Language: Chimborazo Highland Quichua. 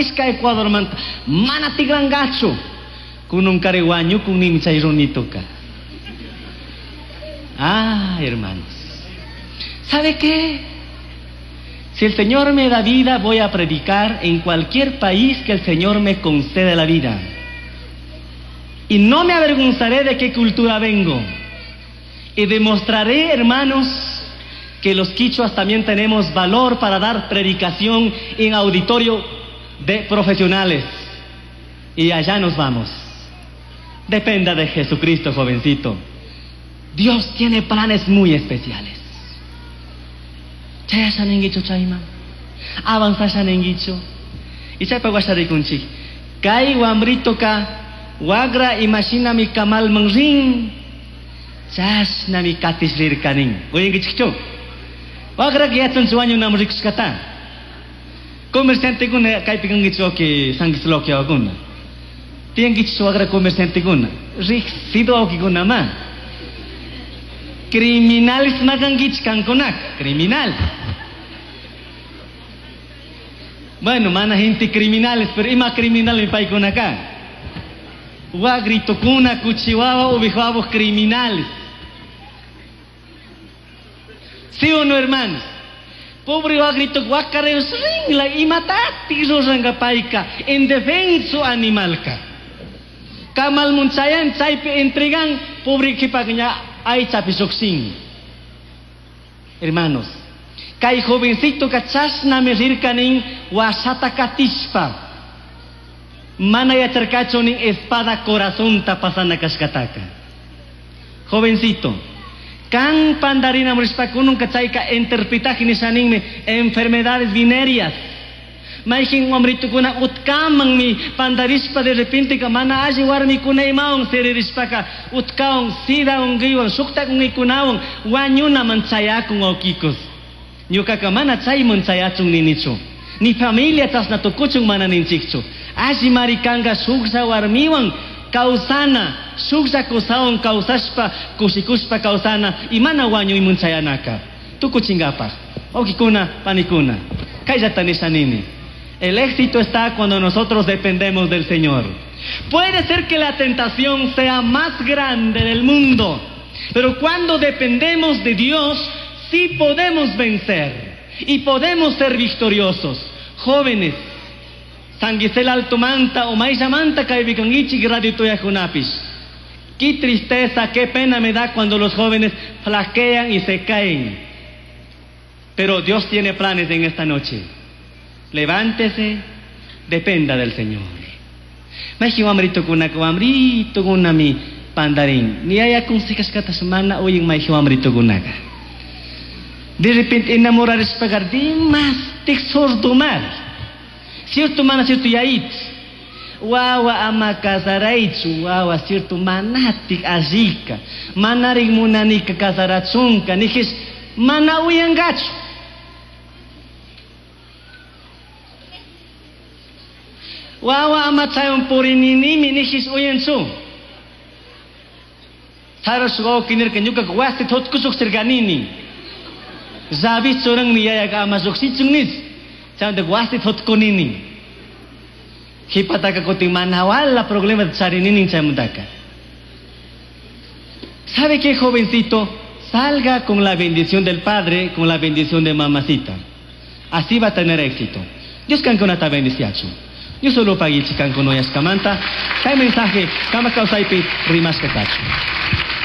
nishka Ecuadormanta mana tigrangachu. Kununkari wañukun nini chay runituka. Ah, hermanos. ¿Sabe qué? Si el Señor me da vida, voy a predicar en cualquier país que el Señor me conceda la vida. Y no me avergonzaré de qué cultura vengo. Y demostraré, hermanos, que los quichuas también tenemos valor para dar predicación en auditorio de profesionales. Y allá nos vamos. Dependa de Jesucristo, jovencito. Dios tiene planes muy especiales. Chayasha ninguichu chayman. Avanzasha ninguichu. Y chaypa washa rikunchik. Kay wambritoka wagra imashinami kamalman rin. Chashnami katish rirkanin. Uyankichikchu. Wagra yachanchu wañunam rikushkata. Comerciantekuna kaypi kankichu que sanguisloki wawakuna. Tiyankichu wagra comerciantekuna. Riqsido wawkikuna ma. Criminales ma kankichik kankunaka. Criminal. Bueno, mana gente criminales, pero ima criminal mi paykunaka. Wagritokuna, kuchiwawa, ubijuabos criminales. ¿Sí o no, hermanos? Pobre wagrito wakareos ringla imatati ruranka payka en defenso animalka. Kamal munchayan chaypi entregan pobre qhipakña aychapi lluqshin. Hermanos, kay jovencito chashnami rirkanin wasata katishpa. Mana yacharkachu nin espada corazonta pasana kashkataka. Jovencito, kan pandarina murishpa kununka chayka interpretaje nishaninmi enfermedades venéreas. Mayqin wamritukuna utkamanmi pandarishpa de repente ka mana alli warmikuna imawan siririshpaka utkawan sida unquywan shuqtak unquykunawan wañunaman chayakun wawkikos. Ñuqaqa mana chayman chayachun ninichu. Ni familia chashna tukuchun mana ninchikchu. Alli mari kanka shuklla warmiwan kawsana, shuklla kusawan kawsashpa, kushikushpa kawsana y mana wañuyman chayanaka. Tukuchinkapaq. Wawkikuna, panikuna. Kayllata nisha nini. El éxito está cuando nosotros dependemos del Señor. Puede ser que la tentación sea más grande del mundo, pero cuando dependemos de Dios, sí podemos vencer y podemos ser victoriosos. Jóvenes, San Alto Manta o Maishamanta kaypi radio tuyakunapish. Qué tristeza, qué pena me da cuando los jóvenes flaquean y se caen. Pero Dios tiene planes en esta noche. Levántese, dependa del Señor. Mayqin wamritukunaka wamritukunami pandarin. Ni yaya consejashkata mana uyan mayqin wamritukunaka. De repente enamorarishpaqa dimashtik sordomar. Cierto mana cierto yayit. Wawa ama casaraychu, wawa cierto manatik allika. Manarik munanika casarachunka, nijish mana uyangachu. Wawa ama chaywan purininimi nijish uyanchu. Saros wawqi nirka ñuqaqa wasi thutkusuqchirkanini. Llavi churanmi yayaka ama lluqshichun nish. Chaymanta wasi thutkunini. Qhipataka kutin mana wala problema charinini chaymantaka. ¿Sabe qué, jovencito? Salga con la bendición del padre, con la bendición de mamacita. Así va a tener éxito. Dios kankunata bendiciachun. Dios solo pagichi kankuna uyashkamanta. Kay mensaje, kama kawsaypi rimashka kachun.